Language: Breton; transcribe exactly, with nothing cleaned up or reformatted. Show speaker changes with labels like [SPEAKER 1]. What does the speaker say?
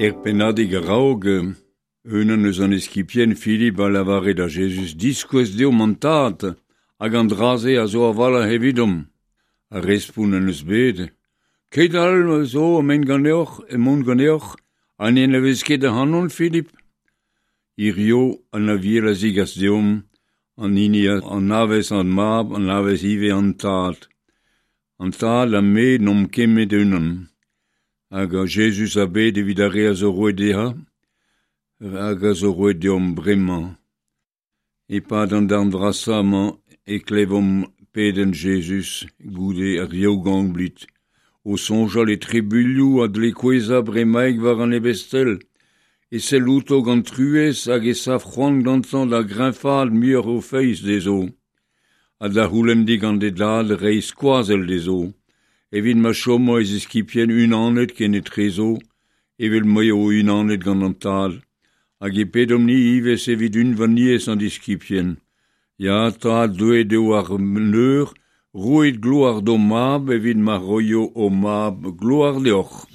[SPEAKER 1] Er pennadig a-raok, unan eus an eskibien Filip a lavare da Jezuz diskouez deomp an Tad, hag an dra-se a zo a-walc'h evidomp. Ar respont en eus bet. Keit all zo emaon ganeoc'h, emaon ganeoc'h, ha ne anavez ket ac'hanon, Filip. Hirio an Aviel a zigas deomp, an hini a anavez an Mab, anavez ivez an Tad. An Tad ha me n'omp ket met unan. Hag Jezuz a bed evit ar re a zo roet dezhañ, hag a zo roet deomp bremañ. E-pad an darn vrasañ-mañ e klevomp pedenn Jezuz goude ar Yaou-Gangblid, o soñjal e trubuilhoù a dle kouezhañ bremaik war an ebestel, e sell outo gant truez hag e sav c'hoant gantañ da greñvaat muioc'h o feiz dezho, ha da c'houlenn digant e dad reiñ skoazell dezho, evit ma chomo e ziskibien unanet kenetrezo, evel m'eo unanet gant an Tad, hag e pedomp-ni ivez evit unvaniezh an diskibien. Ya, Tad, deuet eo ar leur, roit gloar d'ho Mab evit ma roio ho Mab gloar deoc'h.